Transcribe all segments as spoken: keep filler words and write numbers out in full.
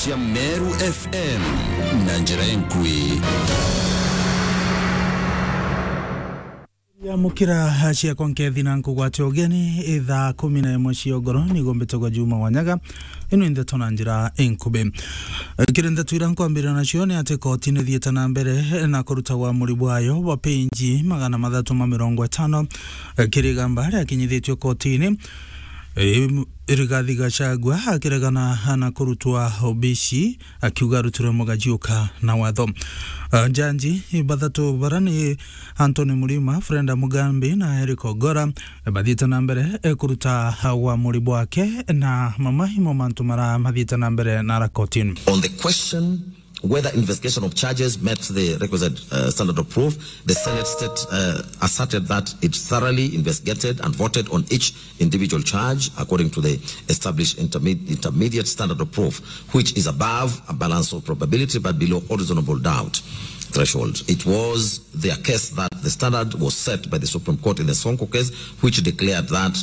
Cia Meru F M na njira enkui. Ya mukira ciakwa nkethi na nkugwate ugeni, ithaa kumi na imwe cia ugoro, nigo mbitagwa Juma Wanyaga. Ino ni ndeto na njira inkubi. Kiri ndeto ira nkwambirira nacio ni ati koti ni thiite na mbere na kuruta uamuri bwayo bwa penji magana mathatu ma mirongo itano, kiri igamba riakinyithitue kotini. Em, Rigathi Gachagua akiregana na kurutwa obici, akiuga arutirwe mugajiuka na watho. Ah, njanji bathatu bara ni Anthony Murima, Freda Mugambi na Eric Ogora, bathiite na mbere, eh, kuruta uamuri bwake na mamwe mo mantu mara mathiite na mbere na kotini. On the question whether investigation of charges met the requisite, uh, standard of proof, the Senate state, uh, asserted that it thoroughly investigated and voted on each individual charge according to the established interme-, intermediate standard of proof, which is above a balance of probability but below all reasonable doubt threshold. It was their case that the standard was set by the Supreme Court in the Sonko case, which declared that,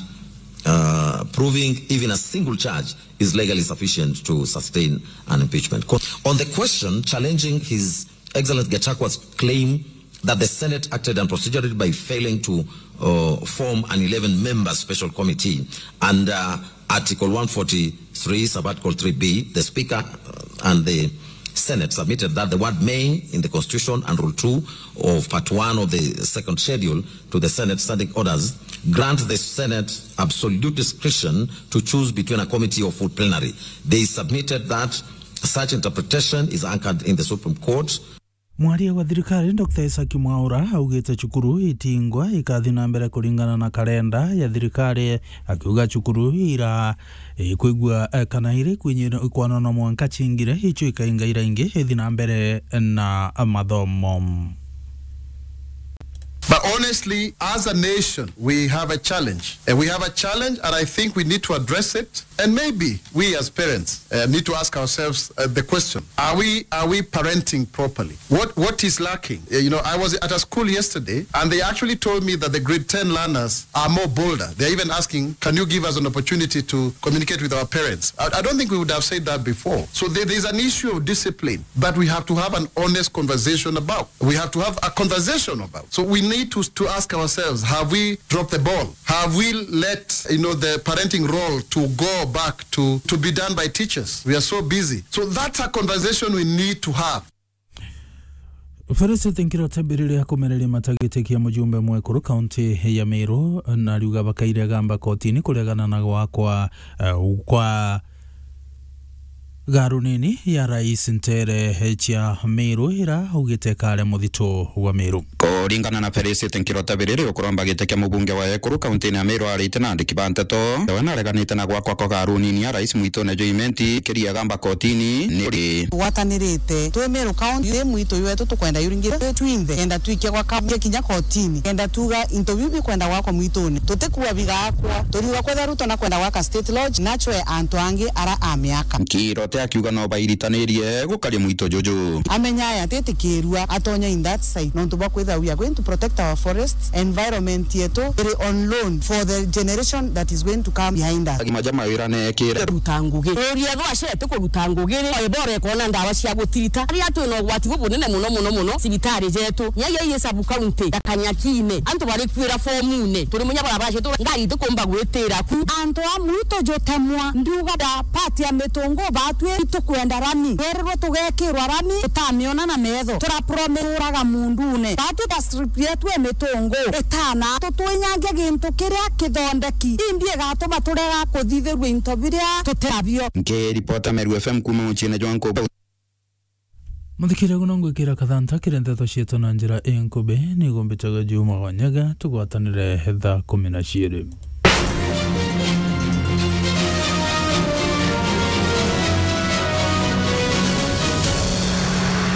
uh, proving even a single charge is legally sufficient to sustain an impeachment. Co-, on the question challenging His Excellency Gachagua's claim that the Senate acted unprocedurally by failing to, uh, form an eleven-member special committee under Article one forty-three, Sub-Article three B, the Speaker, uh, and the Senate submitted that the word "may" in the Constitution and Rule two of Part one of the Second Schedule to the Senate Standing Orders grant the Senate absolute discretion to choose between a committee or full plenary. They submitted that such interpretation is anchored in the Supreme Court. Mwaria wa thirikari, Doctor Isaac Mwaura, augite cukuru itingwa ikathi na mbere kuringana na karenda ya thirikari, akiuga cukuru ira, eh, kwigua, eh, kana iri kwinyira kwanona mwanka cingire, icio ikainga ira ingi ithi na mbere na mathomo. But honestly, as a nation, we have a challenge. And we have a challenge, and I think we need to address it. And maybe we as parents, uh, need to ask ourselves, uh, the question, are we, are we parenting properly? What, what is lacking? Uh, you know, I was at a school yesterday, and they actually told me that the grade ten learners are more bolder. They're even asking, "Can you give us an opportunity to communicate with our parents?" I, I don't think we would have said that before. So there, there's an issue of discipline that we have to have an honest conversation about. We have to have a conversation about. So we need to, to ask ourselves, have we dropped the ball? Have we let, you know, the parenting role to go back to, to be done by teachers? We are so busy. So that's a conversation we need to have. Felicity Nkirote Mbiriri akumereria matagitikia mujumbe mwekuru kaunti ya Meru, na ariuga bakaire gamba kotini kuregana na gwakwa, eh, kwa garu nini ya rais ntere cia Meru ira augite kare muthito wa Meru. Kuringana na Felicity Nkirote Biriri, ukuromba giti kia mubunge wa ekuru kaunti-ini ya Meru arite na andiki ba nteto, we nareganite na gwakwa kwa garu nini ya rais mwitune jwa Imenti, kiria gamba kotini ni ri. Tugwatanirite twi Meru County, twi mwitu jwetu tukwenda yuringire twi twinthe, kenda twikia gwa kaunti kinya kotini, kenda tuga into biu bikwenda gwakwa mwitune, tutikua bigakwa, turiuga kwethira Ruto nakwenda gwaka State Lodge, nachwe antu angi ara a miaka. Nkirote akiuga no bairitanirie gukaria mwito juju. Amenya aya atitikirua atonya in that side, nontu bwa kwithira we are going to protect our forests, environment yetu iri on loan for the generation that is going to come behind us. Agima ja mawira nekire. Ruta ngugi. Uria ethwa acete kuruta ngugi ri, oye bora ekona ndawa cia gutirita. Aria twina ugwati bubunene muno, muno, muno, cibitari jetu. Nyaiya ii sub county ya Kanyakine. Antu bari kwira formune. Turi munya barabara cietu, ngari itikumba gwitira ku. Antu a mwito jutemwa, ndiuga ba party ya mitungu batwi itukwenda rami. Twererwe tugekirwa rami, tutamiona na metho. Turapromise uraga mundune. Batwi ba strip yetu e mitungu itana, tutwinyange gintu kiria kithondeki. Imbi igatuma turega kuthithirua into biria tutirabio. Nkiripota Meru F M kuma muciine jwa Nkubu. Muthikiriria, guno ngwikira kathanta kiri nteto cietu na njira inkubi, nigo mbitaga Juma Wanyaga, tugwatanire thaa kumi na ciiri.